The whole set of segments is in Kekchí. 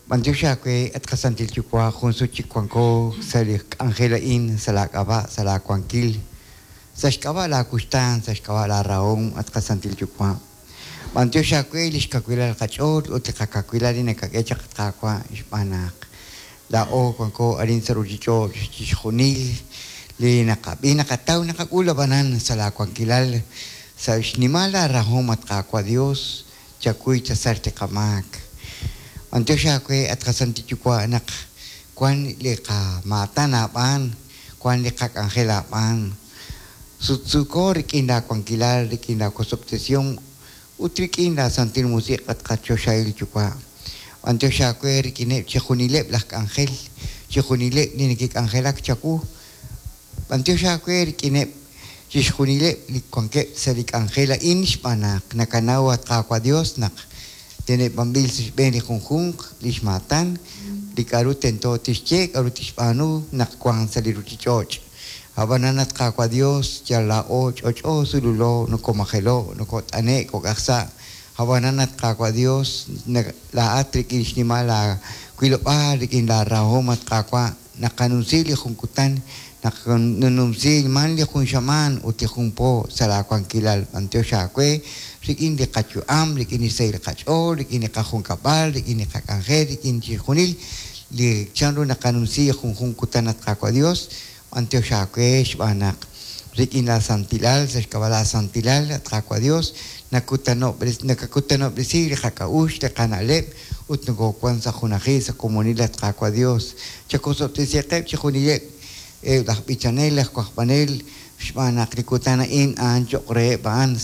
B'antiox aawe, at qaSantil Yuwa', jun sut chik wanko sa' li k'anjel a'in, sa' laa k'ab'a', sa' laa wankil, sa' xk'ab'a' laa wuxtaan, sa' xk'ab'a' laa rahom, at qaSantil Yuwa'. B'antiox aawe lix kawilal qach'ool ut li qakawilal li nakak'e chaq, at Qaawa', xb'aan naq laa'o wanko arin sa' ruchich'och' chixjunil li naqab'i, naqataw, naqak'ul ab'anan sa' laa wankilal, sa' xnimal laa rahom, at Qaawa' Dios, chakuy chasach li qamaak. B'antiox aawe, at qaSantil Yuwa', naq wan li qamaatan aab'aan, wan li qak'anjel aab'aan. Sutsuuko rik'in laa wankilal, rik'in laa wosob'tesihom ut rik'in laa Santil Musiq', at qaChoxahil Yuwa'. B'antiox aawe rik'ineb' chixjunileb' laj k'anjel, chixjunileb' li neke'k'anjelak chawu. B'antiox aawe rik'ineb' chixjunileb' li wankeb' sa' li k'anjel a'in xb'aan naq nakanaw, at Qaawa' Dios, naq teneb'anb'il sa' xb'een li junjunq lix maatan, li k'a'ru tento tixye, k'a'ru tixb'aanu naq wank sa' li ruchich'och'. Ab'anan, at Qaawa' Dios, yal laa'o ch'och'o sululo, nokomajelo', nokot'ane' kok'aj sa'. Ab'anan, at Qaawa' Dios, laa'at rik'in xnimal laa wilob'aal, rik'in laa rahom, at Qaawa', naqanumsi li jun kutan, naqanumsi man li jun xamaan ut li jun po sa' laa wankilal. B'antiox aawe rik'in li qayu'am, rik'in li xsahil qach'ool, rik'in li qajunkab'al, rik'in li qak'anjel, rik'in chixjunil li chanru naqanumsi junjun kutan, at Qaawa' Dios. B'antiox aawe xb'aan naq rik'in laa santilal, sa' xk'ab'a' laa santilal, at Qaawa' Dios, nakakutanob'resi li qak'a'uxl, li qana'leb', ut nokowan sa' junajil, sa' komonil, at Qaawa' Dios. Chakosob'tesiqeb' chixjunileb' laj b'ichanel, laj wajb'anel, xb'aan naq li kutan a'in a'an cho'q reheb' a'an,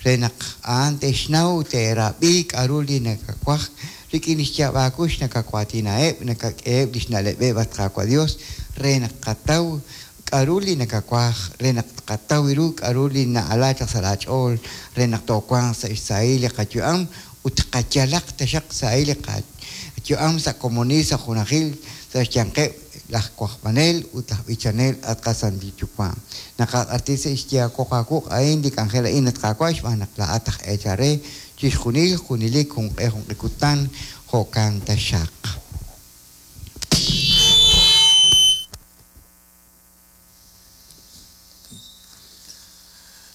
re naq a'an te'xnaw, te'rab'i k'a'ru li nakawaj rik'in lix yaab' aakux, nakawaatinaheb', nakak'eheb' lix na'leb'eb', at Qaawa' Dios, re naq qataw k'a'ru li nakawaj, re naq tqataw ru k'a'ru li na'ala chaq sa' laa ch'ool, re naq toowanq sa' xsahil li qayu'am ut qayalaq taxaq sahil li qayu'am sa' komonil, sa' junajil, sa' xyanqeb' laj wajb'anel ut laj b'ichanel, at qaSantil Yuwa'. Naqaq'axtesi xyaab' aawuq' a'in li k'anjel a'in, at Qaawa', xb'aan naq laa'at aj eechal re chixjunil, junelik, junq'e junq'e kutan, jo'kan taxaq.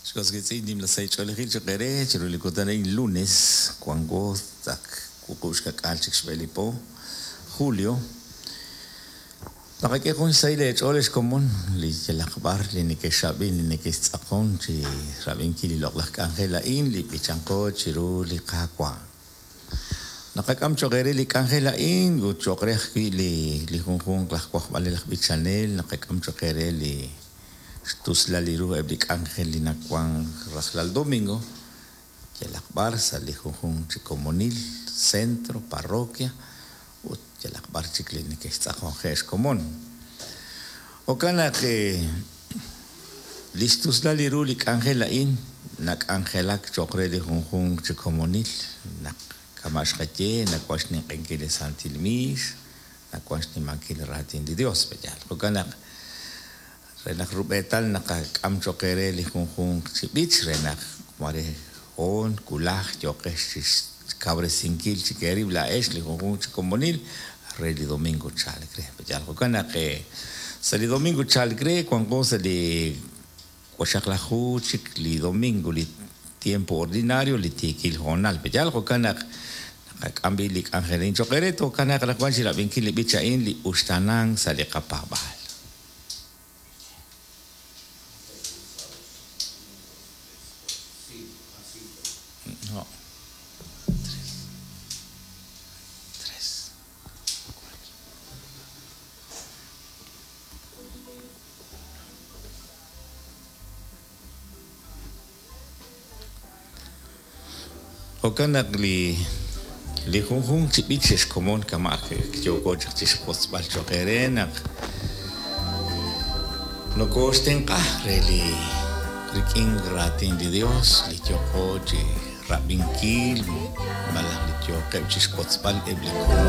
Xk'osk'itz'in nimla sahil ch'oolejil cho'q eere chiru li kutan a'in lunes wanko ak wuqub' xka'k'aal chik xb'e li po julio. Naqak'e jun xsahil eech'ool ex komon li yalaq b'ar li neke'xab'in, li neke'xtz'aqon chi rab'inkil li loq'laj k'anjel a'in li b'ichanqo chiru li Qaawa'. Naqak'am cho'q eere li k'anjel a'in ut cho'q re ajwi' li junjunq laj wajb'anel, laj b'ichanel, naqak'am cho'q eere li xtuslal li ru eb' li k'anjel li nawank rajlal domingo yalaq b'ar sa' li junjunq chi komonil, centro, parroquia ut yalaq b'ar chik li neke'xtz'aqonje' xkomon. Jo'kan naq li xtuslal li ru li k'anjel a'in nak'anjelak cho'q re li junjunq chi komonil naq kama' xqaye nawank xninq'ehinkil li Santil Miix, nawank xnimankil raatin li Dios, pe'yaal. Jo'kan naq re naq rub'eetal naqak'am cho'q eere li junjunq chi b'ich re naq mare hoon wulaj yooqex chi xkawresinkil chik eerib' laa'ex li junjunq chi komonil re li domingo chalk re. Pe'yaal. Jo'kan naq sa' li domingo chalk re wanko sa' li waxaqlaju chik li domingo, li tiempo ordinario, li tiikil hoonal. Pe'yaal. Jo'kan naq naqak'am b'i li k'anjel a'in cho'q eere, tookanaaq anaqwan chi rab'inkil li b'ich a'in li uxtaanank sa' li qapaab'aal. No. Tres. Tres. Cuatro. Jo'kan naq li li junjunq chi b'ich xe'xkomon kama' yooko chaq chixwotzb'al cho'q eere naq nokooxtenq'a re li rik'in raatin li Dios li yooqo chi rab'inkil malaj li yooqeb' chixwotzb'al eb' li komon.